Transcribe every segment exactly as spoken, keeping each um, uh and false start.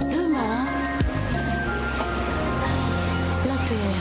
Demain, la terre.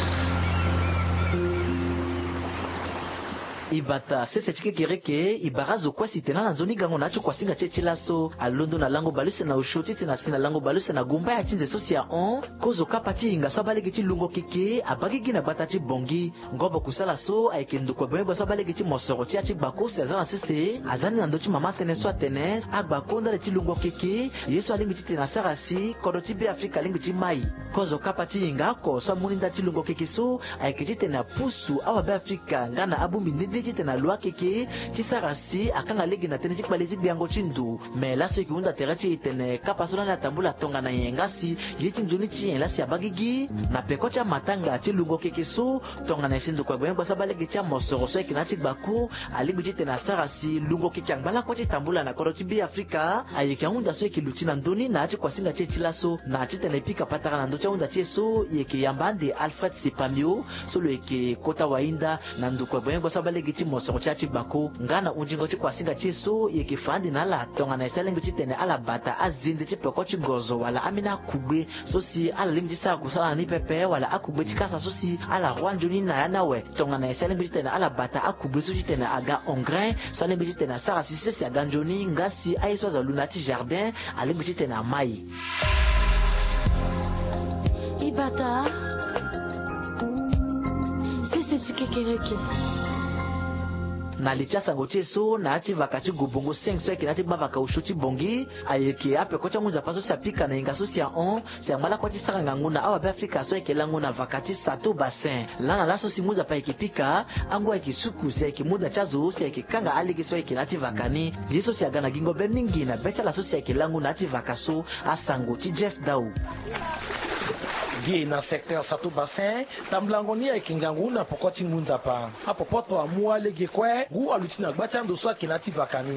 Ibata sese ti kekereke, ibara zo kue si tene ala nzoni gango na ya ti kuasinga ti e ti laso alondo na lango baleuse na osio titene asi na lango baleuse na gumba ya ti nze so si ahon. Kozo kapa ti hinga so abaa lege ti lungo keke abaa gigi na gbata ti Bongi. Ngobo kusala so ayeke ndokua gbengbia so abaa lege ti mosoro ti ya ti gbako si aza na sese aza ni na ndö ti mama tënë so atene agbako ndali ti lungo keke. Ye so alingbi titene asara si kodro ti Beafrika alingbi ti mai. Kozo kapa ti hinga oko so amu ni ndali ti lungo keke so ayeke titene apusu awabeafrika nga na abongbi nde nde titene alo akeke ti sara si akanga lege na tënë ti kpale ti gbiango ti ndo. Me laso e yeke hunda tere ti e tene kapa so lani atambula tongana nyen nga si ye ti nzoni ti nyen laa si abaa gigi. Na peko ti amatanga ti lungo keke so, tongana nyen si ndokua gbengbia so abaa lege ti amosoro so ayeke na ya ti gbako alingbi titene asara si lungo keke angba lakue ti tambula na kodro ti Beafrika. Ayeke ahunda so e yeke luti na ndö ni na ya ti kuasinga ti e ti laso na titene e pika patara na ndö ti ahunda ti e so, e yeke yamba ande Alfred Sepamio so lo yeke kota wahinda na ndokua gbengbia so abaa lege ti mosoro ti ya ti gbako. Nga na hunzingo ti kuasinga ti e so, e yeke fa ande na ala tongana nyen si alingbi titene ala bata azende ti peko ti gozo wala ambeni akugbe so si ala lingbi ti sara kusala na ni pepe wala akugbe ti kasa so si ala roi nzoni na ya ni awe. Tongana nyen si alingbi titene ala bata akugbe so titene aga engrais so alingbi titene asara si sese aga nzoni nga si aye so azo alu na ya ti jardin alingbi titene amai. Ibata sese ti kekereke. Na li ti asango ti e so na ya ti vaka ti Gobongo cinq so ayeke na ya ti gbavaka osio ti Bongi, ayeke apeko ti angu nzapa so si apika na hinga so si ahon, si angba lakue ti sara ngangu na awabeafrika so ayeke lango na vaka ti Sato Bassin. Laa na laso si ngu nzapa ayeke pika, angu ayeke suku si ayeke mu da ti azo si ayeke kanga alege so ayeke na ya ti vaka ni. Ye so si aga na gingo be mingi na be ti ala so si ayeke lango na ya ti vaka so. Asango ti Jeff Dau. Ge na secteur Sato Bassin, tambulango ni ayeke ngangu na poko ti ngu nzapa. Apopoto amu alege kue, ngu aluti na gba ti ando so ayeke na ya ti vaka ni.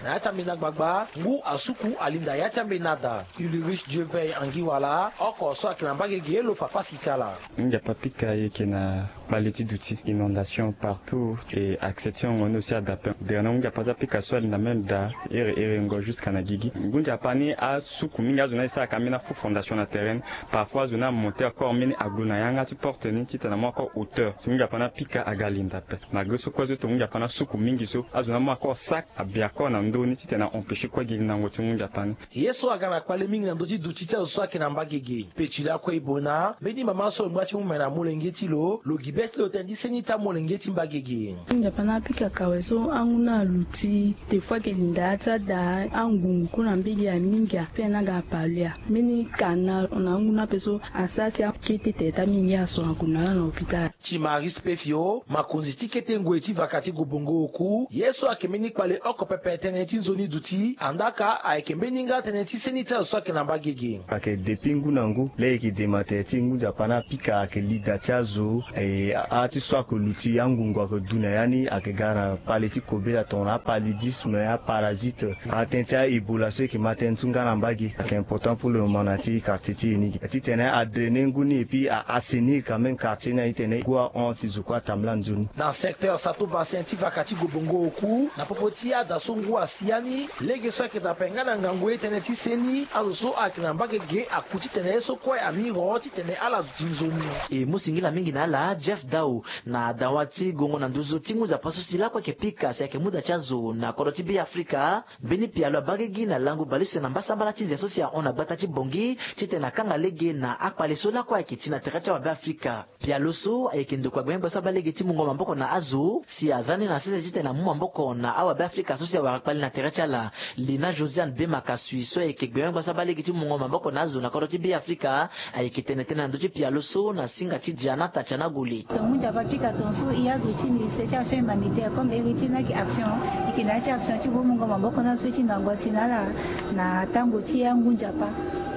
Na ya ti ambeni agbagba, ngu asuku alinda ya ti ambeni ada. Ulrich Dieuveil Angiwala, oko so ayeke na mbagege lo fa pasi ti ala. Ngu nzapa pika ayeke na kpale ti duti, inondation partout, et accès ti hongo ni aussi adape. Derna ngu nzapa ti apika so alinda même daa, ere erengo jusqu'à na gigi. Ngu nzapa ni asuku mingi azo ni aye sara ka ambeni afu fondation na terrain ni. Parfois azo ni amonte encore mbeni aglo na yanga ti porte ni titene amu encore hauteur. Si ngu nzapa ni apika aga alinda ape. Malgré so kue so to ngu nzapa ni asuku mingi so, azo ni amu encore sac, abia encore na ndö ni titene a empêcher kue gi nango ti ngu nzapa ni. Ye so aga na kpale mingi na ndö ti duti ti azo so ayeke na mbagege. Pe ti lakue e boi na mbeni mama so lo ngba ti mu me na molenge ti lo, lo gi be ti lo tënë ti seni ti amolenge ti mbagege. Nzapa ni apika kawe so angu ni aluti, te fo ayeke linda ya ti ada, angungu kue na mbage ya mingi ape ni aga apalu ya. Mbeni kana na angu ni ape so asara si akete tere ti amingi aso ague na ala na hôpital. Ti Marie Spefio, makonzi ti kete ngoi ti vaka ti Gobongo oku, ye so ayeke mbeni kpale oko pepe tënë ti nzoni duti, andaka ayeke mbeni nga tënë ti seni ti azo so ayeke na mbagege. Ayeke depuis ngu na ngu, laa e yeke dema tere ti ngu nzapa ni apika ayeke li da ti azo, e, a, a ti so ayeke luti angungu ayeke du na ya ni, ayeke ga na kpale ti kobela tongana apaludisme, aparasite, atënë ti a-Ebola so e yeke ma tënë so nga na mbage. Ayeke important pour le moment na ya ti quartier ti e ni. Titene a drainer ngu ni et puis a assainir quand même quartier ni aye titene ngu ahon si zo kue atambula nzoni. Na secteur Sato Bassin ti vaka ti Gobongo oku, na popo ti ada so ngu asi ya ni, lege so ayeke dape nga na ngangu ye tënë ti seni, azo so ayeke na mbagege aku titene ye so kue amiro titene ala zo ti nzoni. E mu singila mingi na ala Jeff Dau na dawa ti gongo na nduzu ti ngu nzapa so si lakue ayeke pika si ayeke mu da ti azo na kodro ti Beafrika. Mbeni pialo abaa gigi na lango baleuse na mbasambala ti nze so si ahon na gbata ti Bongi titene akanga lege na akpale so lakue ayeke ti na tere ti awabeafrika. Pialo so ayeke ndokua gbengbia so abaa lege ti mungo maboko na azo si aza ni na sese titene amu maboko na awabeafrika so si awara kpale na tere ti ala. Lina Josiane Bemakasui so ayeke gbengbia so abaa lege ti mungo maboko na azo na kodro ti Beafrika, ayeke tene tënë na ndö ti pialo so na singa ti Diana Tatiana Gole. Tonga ngu nzapa apika tonga so e azo ti ministère ti action humanitaire comme héritier ni ayeke action, e yeke na ya ti action ti gue mungo maboko na azo so e ti ngangu asi na ala na tango ti angu nzapa.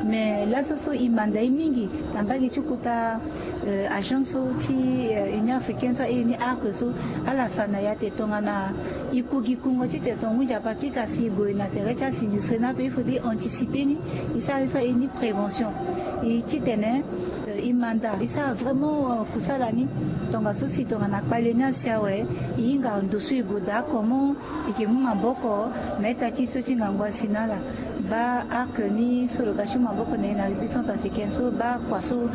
Mais laso so e manda ye mingi na mbage ti kota, euh, agence so ti, euh, Union africaine so aye ni arc so, ala fa na ya te tongana e ku gi kungo titene tonga ngu nzapa apika si e gue na tere ti asinistré ni ape, il faudrait anticiper ni, e sara ye so aye ni prévention. E titene, euh, Manda e sara vraiment kusala ni. Tongaso si tongana kpale ni asi awe, e hinga ndo so e gue daa comment e yeke mu maboko na ita ti e so ti ngangu asi na ala. Baa arc ni so lo ga ti mu maboko na e na République centrafricaine so baa kua so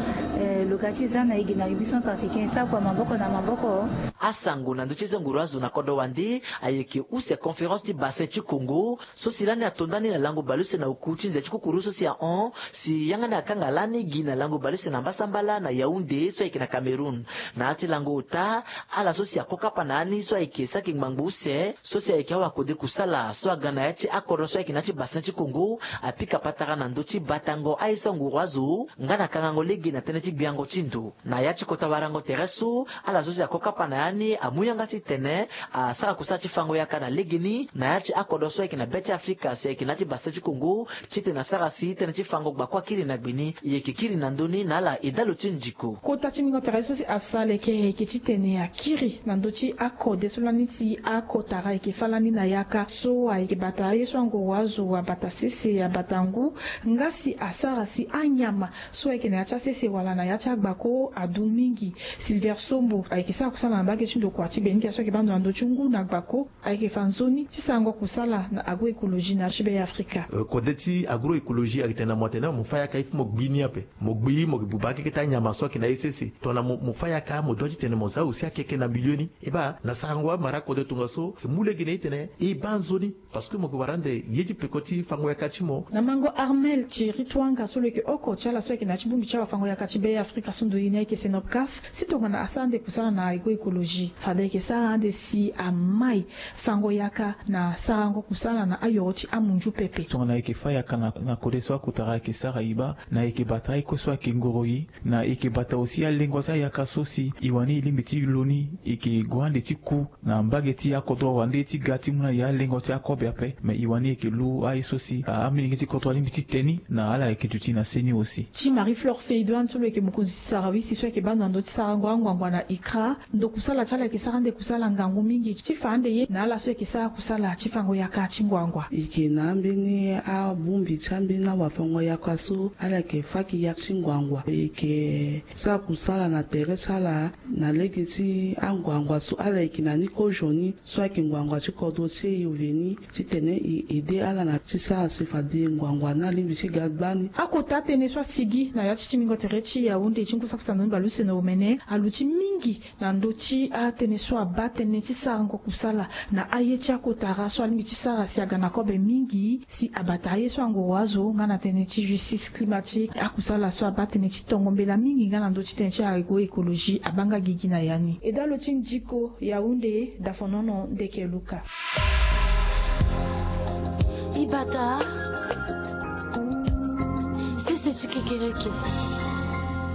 lo ga ti za na e gi na République centrafricaine e sara kua maboko na maboko. Asango na ndö ti e so nguru azo na kodro wande ayeke use conférence ti bassin ti Congo so si lani ato ndani na lango baleuse na oku ti nze ti kukuru so si ahon si yanga ni akanga lani gi na lango baleuse na mbasambala na Yaoundé so ayeke na Cameroun. Na ya ti lango ota, ala so si ako kapa na ya ni so ayeke saki ngbangbo use so si ayeke awakode kusala so aga na ya ti akodro so ayeke na ya ti bassin ti Congo apika patara na ndö ti batango aye so anguru azo nga na kangango lege na tënë ti gbiango ti ndo. Na ya ti kota warango tere so, ala so si ako kapa na ya ni amu yanga titene asara kusala ti fango yaka na legeni na ya ti akodro so ayeke na be ti Afrika si ayeke na ya ti bassin ti Congo titene asara si tënë ti fango gbakua akiri na gbe ni e yeke kiri na ndö ni na ala edalo ti ndiko. Kota ti ningo tere so si afsa leke ayeke titene akiri na ndö ti akode so lani si akotara ayeke fâ lani na yaka so ayeke bata aye so anguru azo abata sese abata ngu nga si asara si anyama so ayeke na ya ti asese wala na ya ti agbako adu mingi. Silver Sombo ayeke sara kusala na mbage ti ndokua ti Beninkia so ayeke baa ndo na ndö ti ngu na gbako. Ayeke fa nzoni ti sarango kusala na agroécologie na ya ti be Afrika. Kode ti agroécologie ayeke tene na mo atene mo fâ yaka il faut mo gbi ni ape. Mo gbi mo yeke buba akeke ti anyama so ayeke na ye sese. Tongana mo fâ yaka mo dua titene mo za aussi akeke na milieu ni. E baa na sarango amara kode tongaso e mu lege na e titene e baa nzoni. Parce que mo ke wara ande ye ti peko ti fango yaka ti mo. Na mango Armel Thierry Twanga so lo yeke oko ti ala so ayeke na ya ti bongbi ti awafango yaka ti be Afrika so ndo ye ni ayeke Senopcaf si tongana asara ande kusala na agroécologie fade ayeke sara ande si amai fango yaka na sarango kusala na ayoro ti amunzu pepe. Tongana ayeke fâ yaka na kode so akotara ayeke sara e baa na ayeke bata aye kue so ayeke ngoro e. Na e yeke bata aussi alengo ti ayaka so si e wani e lingbi ti lo ni e yeke gue ande ti ku na mbage ti akodro wande ti ga ti mu na e alengo ti akobe ape. Me e wani e yeke lu aye so si amilenge ti kodro alingbi ti te ni na ala yeke duti na se ni aussi. Ti Marie Flore Feidoine so lo yeke mokonzi ti sarawisi so ayeke baa ndo na ndö ti sarango anguanguan na ICRA. Ndo kusala ti ala ayeke sara ande kusala ngangu mingi ti fa ande ye na ala so ayeke sara kusala ti fango yaka ti nguangua. E yeke na ambeni abongbi ti ambeni awafango yaka so ala yeke faki yaka ti nguangua e yeke sara kusala na tere ti ala na lege ti anguangua so ala yeke na ni kozo ni so ayeke nguangua ti kodro ti e oveni titene e aide ala na ti sara si fade nguangua ni alingbi ti ga gbani. Akota tënë so asigi na ya ti tingbingo tere ti Yaoundé ti ngu saki sandoni baleuse na omene aluti mingi na ndö ti atënë so abaa tënë ti sarango kusala na aye ti akotara so alingbi ti sara si aga na kobe mingi si abata aye so anguru azo nga na tënë ti justice climatique akusala so abaa tënë ti tongo mbela mingi nga na ndö ti tënë ti agroécologie abaa nga gigi na ya ni. Edalo ti ndiko Yaoundé, Dafonono Ndeke Luka. Ibata sese ti kekereke.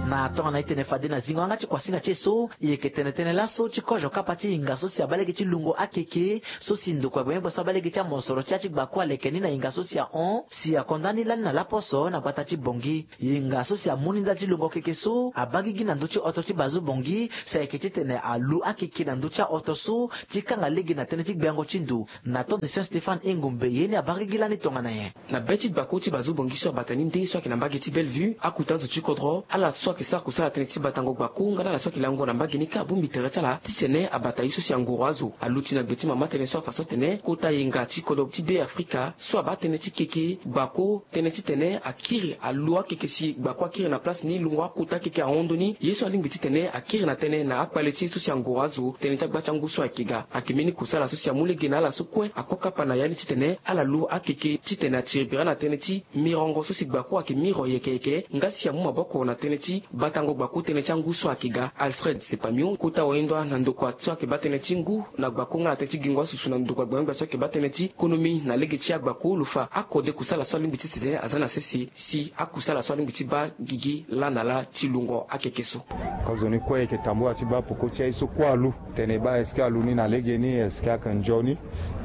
Na tongana e tene fade na zingo yanga ti kuasinga ti e so e yeke tene tënë laso ti kozo kapa ti hinga so si abaa lege ti lungo akeke so si ndokua gbenyo-gbia so abaa lege ti amosoro ti ya ti gbakua aleke ni na hinga so si ahon si akonda ni lani na laposo na gbata ti Bongi. Hinga so si amu ni ndali ti lungo keke so abaa gigi na ndö ti oto ti Bazu Bongi si ayeke titene alu akeke na ndö ti aoto so ti kanga lege na tënë ti gbiango ti ndo. Na tonze Saint Stéphane Engombe ye ni abaa gigi lani tongana nyen? Na be ti gbako ti Bazu Bongi so abata ni nde so ayeke na mbage ti Bellevue, akuta zo ti kodro, ala so ayeke sara kusala tënë ti batango gbako nga na ala so ayeke lango na mbage ni kâ abongbi tere ti ala titene abata ye so si anguru azo aluti na gbe ti mama tënë so afa so atene kota yenga ti kodro ti Be Afrika so abaa tënë ti keke gbako tënë titene akiri alu akeke si gbako akiri na place ni lungo akota akeke ahon ndoni ye so alingbi titene akiri na tënë na akpale ti ye so si anguru azo tënë ti agba ti angu so ayeke ga. Ayeke mbeni kusala so si amu lege na ala so kue ako kapa na ya ni titene ala lu akeke titene atiri bira na tënë ti mirongo so si gbako ayeke miro yeke yeke nga si amu maboko na tënë ti batango gbako tënë ti angu so ayeke ga. Alfred Sepamio kota oindua na ndokua so ayeke baa tënë ti ngu na gbako nga na tënë ti gingo asusu na ndokua gbenyo-gbia so ayeke baa tënë ti konomi na lege ti agbako lo fa akode kusala so alingbi ti sete aza na sese si akusala so alingbi ti baa gigi laa na laa ti lungo akeke so. Kozoni kue e yeke tambula ti baa peko ti aye so kue alu tene e baa est-ce que alu ni na legeni, est-ce que ayeke nzoni?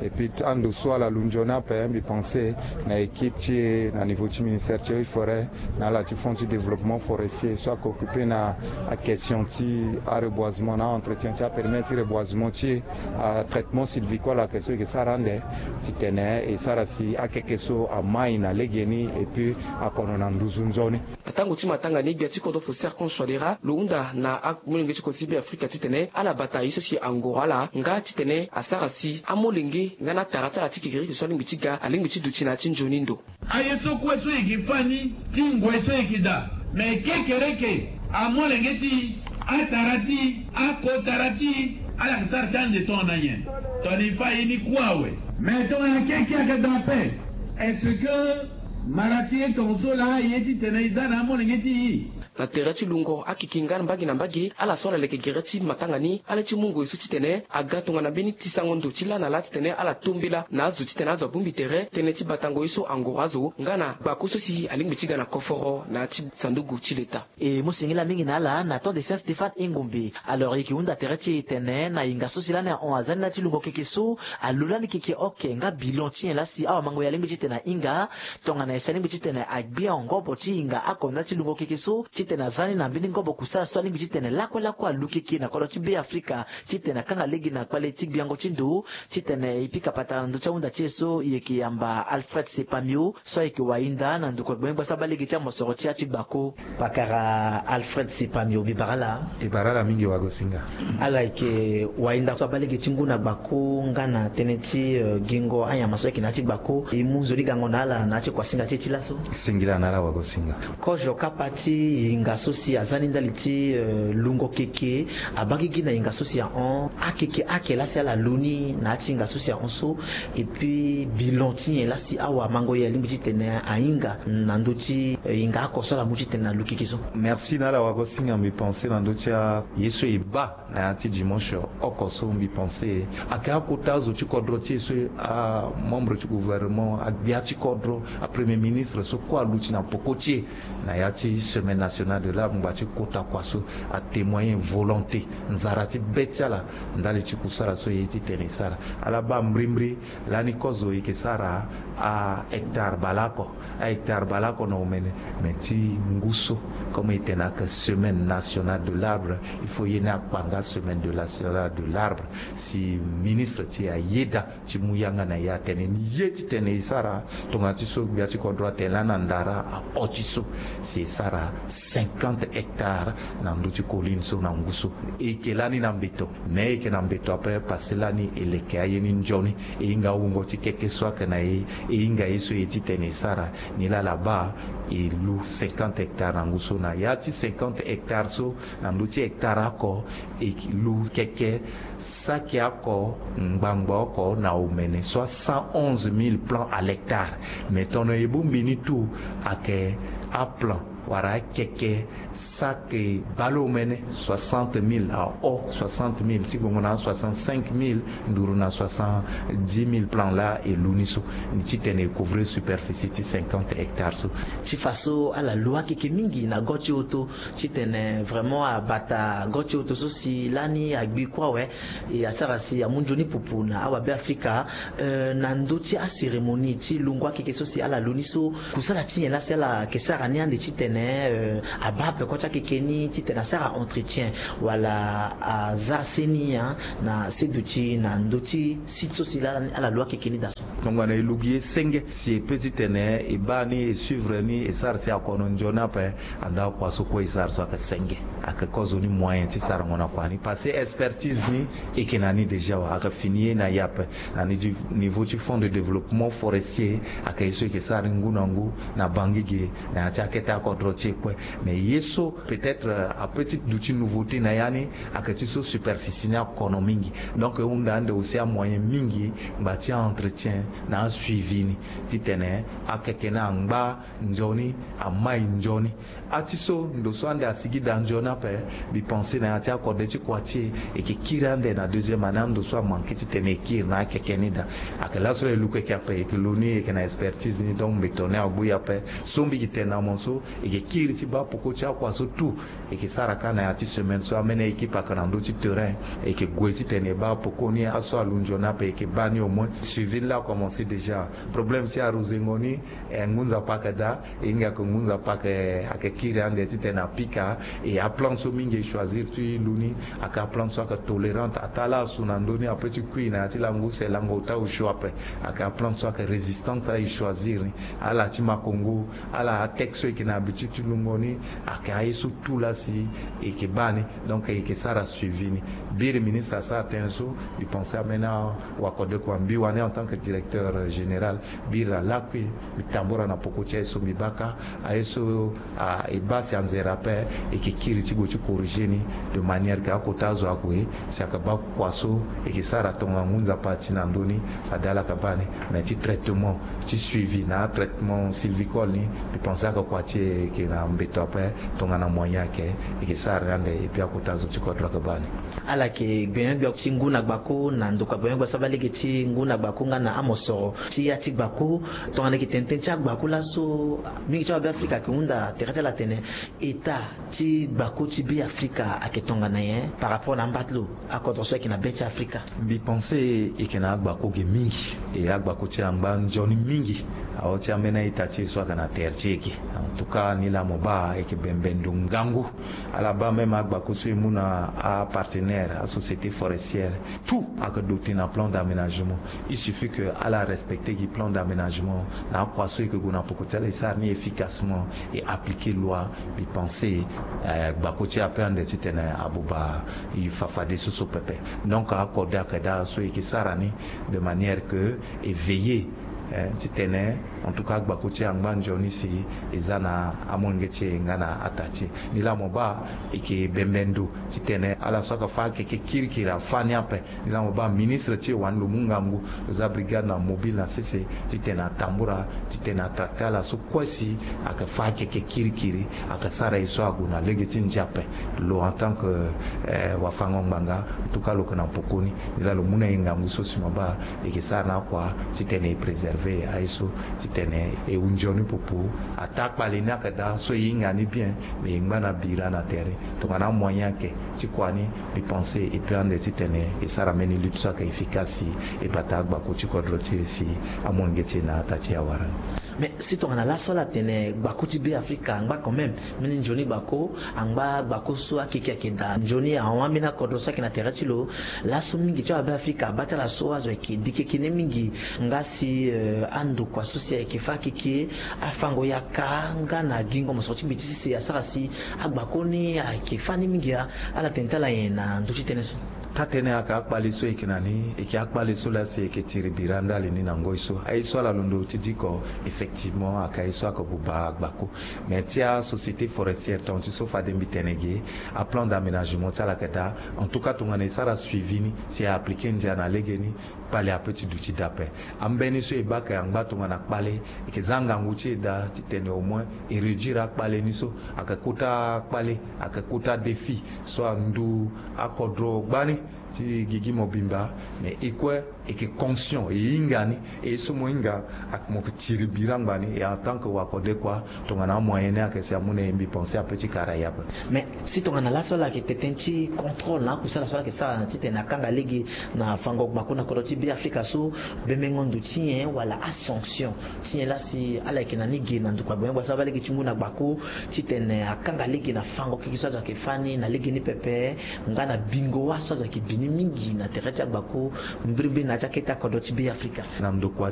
Et puis ando so ala lu nzoni ape, mbi pense na équipe ti e na niveau ti ministère ti eaux et forêts na ala ti fonds ti développement forestier So ake occupe na akestion ti areboisement na aentretien ti aperimetre ti reboisement ti e, atraitement sylvicole ake so e ke sara ande titene e sara si akeke so amai na legeni et puis akono na nduzu nzoni. Na tango ti matanga ni gbia ti kodro Faustin Archange Touadéra lo hunda na amolenge ti kodro ti Beafrika titene ala bata ye so si angoro ala nga titene asara si amolenge nga na atara ti ala ti kekereke so alingbi ti ga alingbi ti duti na ya ti nzoni ndo. Aye so kue so e ke fa ni ti ngoi so e ke daa, me kekereke amolenge ti atara ti akotara ti ala ke sara ti ande tongana nyen? Tongana e fa ye ni kue awe. Me tongana keke ake daa ape, est-ce que mara ti ye tongaso laa aye titene e za na amolenge ti e? Na tere ti lungo akeke nga na mbage na mbage ala so ala leke gere ti matanga ni ala ye ti mu ngoi so titene aga tongana mbeni tisango ndo ti laa na laa titene ala tombela na azo titene azo abongbi tere tënë ti batango ye so angoro azo nga na gbako so si alingbi ti ga na koforo na ya ti sanduku ti leta. E mu singila mingi na ala na temps de Saint Stéphane Engombe. Alors e ke hunda tere ti e tene na hinga so si lani ahon aza ni na ya ti lungo keke so, alu lani keke oke nga bilan ti nyen laa si awamango ye alingbi titene ahinga? Tongana e si alingbi titene agbia ngobo ti hinga oko na ya ti lungo keke so titene aza ni na mbeni ngobo kusala so alingbi titene lakue lakue alu keke na kodro ti Beafrika titene akanga lege na kpale ti gbiango ti ndo. Titene e pika patara na ndö ti ahunda ti e so, e yeke yamba Alfred Sepamio so ayeke wahinda na ndokua gbengbe gbasa baa lege ti amosoro ti ya ti gbako. Pakara Alfred Sepamio, mbi bara ala. E bara ala mingi wagosinga. Ala yeke wahinda so abaa lege ti ngu na gbako nga na tënë ti, eh, gingo anyama so ayeke na ya ti gbako. E mu nzoni gango na ala na ya ti kuasinga ti e ti laso. Singila na ala wagosinga. Kozo kapa ti hinga so si aza ni ndali ti, eh, lungo keke abaa gigi na hinga so si ahon. Akeke ake laa si ala lu ni na ya ti hinga so si ahon so. Et puis bilan ti nyen laa si awamango ye alingbi titene ahinga na ndö ti, eh, hinga oko so ala mu titene alu keke so? Merci na ala wagosinga. Mbi pense na ndö ti a, ye so e baa na ya ti dimanche oko so, mbi pense ayeke akota azo ti kodro ti e so, amembre ti gouvernement, agbia ti kodro, apremier ministre so kue aluti na poko ti e na ya ti semaine nationale de l'arbre, ngbanga ti kota kua so, atémoigner volonté, nzara ti be ti ala ndali ti kusala so e ye titene e sara. Ala baa mbrimbri lani kozo e yeke sara ahectare baleoko, ahectare baleoko na omene. Me ti ngu so, comme e tene ayeke semaine nationale de l'arbre, il faut ye ni akpa nga semaine de nationale de l'arbre. Si ministre ti e ayeda ti mu yanga na e atene ni ye titene e sara, tongana ti so gbia ti kodro atene lani andara aho ti so, si e sara cinquante hectares na ndö ti colline so na ngu so. E yeke lani na mbeto, me e yeke na mbeto ape parce que lani e leke aye ni nzoni. E hinga awungo ti keke so ayeke na e, e hinga ye so e ye titene e sara. Nilaa ala baa e lu cinquante hectares na ngu so. Na ya ti cinquante hectares so, na ndö ti hectare oko, e lu keke saki oko ngbangba oko na omene, soit cent onze mille plants à l'hectare. Mais tongana e bongbi ni tout, ayeke aplan wala akeke saki baleomene, soixante mille, aho soixante mille, ti gongo na soixante-cinq mille nduru na soixante-dix mille plants laa e lu ni so, ni titene e couvrir superficie ti cinquante hectares so. Ti fa so ala lu akeke mingi na go ti hoto, titene vraiment abata go ti hoto so si lani agbi kue awe. E asara si amu nzoni pupu na awabeafrika, eh, na ndö ti acérémonie ti lungo akeke so si ala lu ni so, kusala ti nyen laa si ala yeke sara ni ande titene, eh, abaa peko ti akeke ni titene asara entretien wala aza seni, hein, na seduti na ndö ti site so si laa ala lu akeke ni daa so. Tongana e lu gi ye senge, si e peut titene e baa ni, e suivre ni, e sara si akono nzoni ape. Anda kua so kue e sara so ayeke senge. Ayeke kozo ni moyen ti sarango na kua ni parce que expertise ni e yeke na ni déjà awe. Ayeke fini ye na e ape. Na ni ti niveau ti fonds de développement forestier, ayeke ye so e yeke sara ni ngu na ngu na Bangui ge, na ya ti akete akodro ti e kue. Mais ye so peut-être, euh, apeut ti duti nouveauté na ya ni, ayeke ti so superficie ni akono mingi. Donc e hunda ande aussi amoyen mingi ngba ti aentretien na asuivi ni, titene akeke ni angba nzoni, amai nzoni. Ati so ndo so ande asigi daa nzoni ape. Mbi pense na ya ti akode ti kua ti e, e yeke kiri ande na deuxième année, ando so amanke titene e kiri na akeke ni daa. Ayeke laso la e lu keke ape, e yeke lu ni, e yeke na expertise ni, donc mbeto ni agbu e ape. So mbi yeke tene na mo so, e E kiri ti baa poko ti akua so tout. E ke sara kâ na ya ti semaine so ameni a-équipe ayeke na ndö ti terrain. E ke gue titene e baa poko ni, aso alunzoni ape e ke baa ni au moins. Suivi ni laa akomense déjà. Problème ti aruzengo ni, eh, ngu nzapa ayeke daa. E hinga ke ngu nzapa ayeke, ayeke kiri ande titene apika. E aplante so mingi e choisir ti lu ni ayeke aplante so ayeke tolérante. Ataa laa asu na ndö ni ape ti kui na ya ti lango use, lango ota osio ape. Ayeke aplante so ayeke résistante, ala e choisir ni. Ala ti makongo, ala atexte so e yeke na habitude ti lungo ni, ayeke aye so tout laa si e yeke baa ni. Donc e yeke sara suivi ni. Biri ministre asara tënë so, mbi pense ameni awakodeko ambi wani en tant que directeur général. Biri na lakui, mbi tambura na poko ti aye so mbi baa kâ, aye so, ah, e baa si anzere ape, e yeke kiri ti gue ti corriger ni, de manière que akota azo ague, si ayeke baa kua so e yeke sara tongana ngu nzapa ti na ndö ni, fade ala yeke baa ni. Mais ti traitement, ti suivi na atraitement sylvicole ni, mbi pense ayeke kua ti e yeke na mbeto ape, tongana moyen ayeke, e yeke sara ni ande, et puis akota zo ti kodro ayeke baa ni. Ala yeke gbenyo-gbia ti ngu na gbako na ndokua gbenyo-gbia so abaa lege ti ngu na gbako nga na amosoro ti ya ti gbako. Tongana e yeke tene tënë ti agbako laso, mingi ti awabe Afrika ayeke hunda tere ti ala atene, état ti gbako ti Be Afrika ayeke tongana nyen par rapport na amba ti lo akodro so ayeke na be ti Afrika? Mbi pense e yeke na agbako ge mingi, e agbako ti e angba nzoni mingi. Aho ti ambeni a-ita ti e so ayeke na tere ti e ge. En tout cas, nilaa mo baa e yeke bembe ndo ngangu. Ala baa même agbako so e mu na apartenaire, asociété forestière, tout ayeke doté na plan d'aménagement. Il suffit que ala respecter gi plan d'aménagement. Na akua so e yeke gue na poko ti ala e sara ni efficacement, e appliquer loi. Mbi pense, eh, gbako ti e ape ande titene abuba e fa fadeso so pepe. Donc akode ayeke daa so e yeke sara ni de manière que e veiller, eh, titene, en tout cas, agbako ti e angba nzoni si e za na amolenge ti e nga na ata ti e. Nilaa mo baa e yeke bembe ndo titene ala so ayeke fâ akeke kirikiri afâ ni ape. Nilaa mo baa ministre ti e wani lo mu ngangu, lo za brigade na mobile na sese titene atambura, titene atracter ala so kue si ayeke fâ akeke kirikiri, ayeke sara e so ague na lege ti ndia ape. Lo en tant que, eh, wafango-ngbanga, en tout cas lo yeke na poko ni. Nilaa lo mu na e ngangu so si mo baa e yeke sara na akua titene e préserver aye so, titene e hu nzoni popo. Ataa akpale ni ayeke daa so e hinga ni bien, mais e ngba na bira na tere. Tongana amoyen ayeke ti kua ni, mbi pense e peut ande titene e sara mbeni lutte so ayeke efficace si e bata agbako ti kodro ti e si amolenge ti e na ata ti e awara ni. Mais si tongana laso ala tene gbako ti Be Afrika angba quand même mbeni nzoni gbako, angba gbako so akeke ayeke daa nzoni ahon ambeni akodro so ayeke na tere ti lo. Laso mingi ti awabe Afrika abaa ti ala so azo ayeke dikeke ni mingi. Nga si, eh, andokua so si ayeke fâ akeke, afango yaka nga na gingo mosoro ti mbi ti sese asara si agbako ni ayeke fâ ni mingi. Ala tene ti ala nyen na ndö ti tënë so? Taa-tënë ayeke akpale so e yeke na ni, e yeke akpale so laa si e yeke tiri bira ndali ni na ngoi so. Aye so ala londo ti diko, effectivement, ayeke aye so ayeke buba agbako. Mais ti asociété forestière, tonga ti so fade mbi tene ge, aplan d'aménagement ti ala ayeke daa. En tout cas, tongana e sara suivi ni, si e appliquer ndia na legeni, kpale apeut ti duti daa ape. Ambeni so e baa ayeke angba tongana kpale, e yeke za ngangu ti e daa titene au moins e réduire akpale ni so. Ayeke kota kpale, ayeke kota défi so andu akodro gbani ti gigi mobimba. Mais e kue e yeke conscient, e hinga ni, e so mo hinga, mo yeke tiri bira ngbani. Et en tant que wakodekua, tongana amoyen ni ayeke si amu na e, mbi pense apeut ti kara e ape. Mais si tongana laso ala yeke tene tënë ti contrôle na akusala so ala yeke sara titene akanga lege na fango gbako na kodro ti Be Afrika so, bembengo ndo ti nyen wala asanction ti nyen laa si ala yeke na ni ge na ndokua gbenyo-gbia so abaa lege ti ngu na gbako titene akanga lege na fango keke so azo ayeke fâ ni na legeni pepe, nga na bingo wâ so azo ayeke bi ni mingi na tere ti agbako, mbirimbiri na ya ti akete akodro ti Be Afrika? Na ndokua